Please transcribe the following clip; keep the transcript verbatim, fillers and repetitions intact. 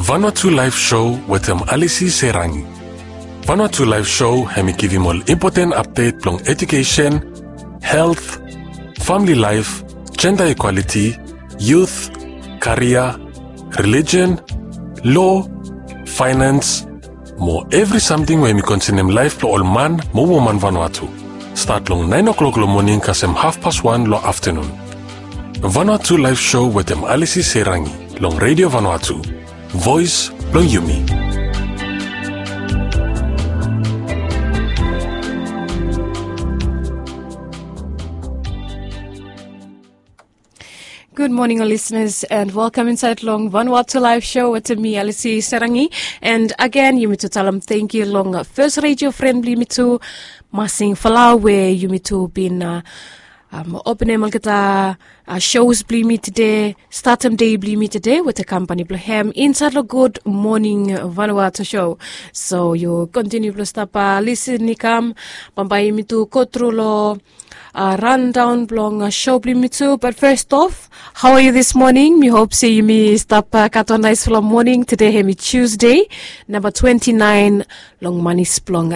Vanuatu Live Show wetem Alisi Serangi. Vanuatu Live Show hem i givim ol impoten apdet blong edukesen, helt, famili laef, jenda ikwaliti, yut, karia, relijen, lo, faenans, mo evri samting we hem i konsenem laef blong ol man mo woman Vanuatu. Stat long naen oklok long moning kasem hafpas wan long aftanun. Vanuatu Live Show wetem Alisi Serangi long Redio Vanuatu, voes blong yumi. Gud moning ol lisenas, and welkam insaed long Vanuatu Live Show wetem mi, Alisi Serangi. And agen yumi tu talem tangkiu long fes redio fren blong yumi tu, Masing Falau, we yumi tu bin openem olgeta shows blong yumi tede, statem dei blong yumi tede wetem kampani blong hem insaed long Gud Moning Vanuatu show. So yu kontiniu blong stap lisin i kam, bambae yumi tu gotru long randaon blong sho blong yumi tu. Bat fes of, hao a yu dis moning? Mi hop se yumi stap gat wan naesfala moning. Tede hem i Tusde, namba twenti naen long manis blong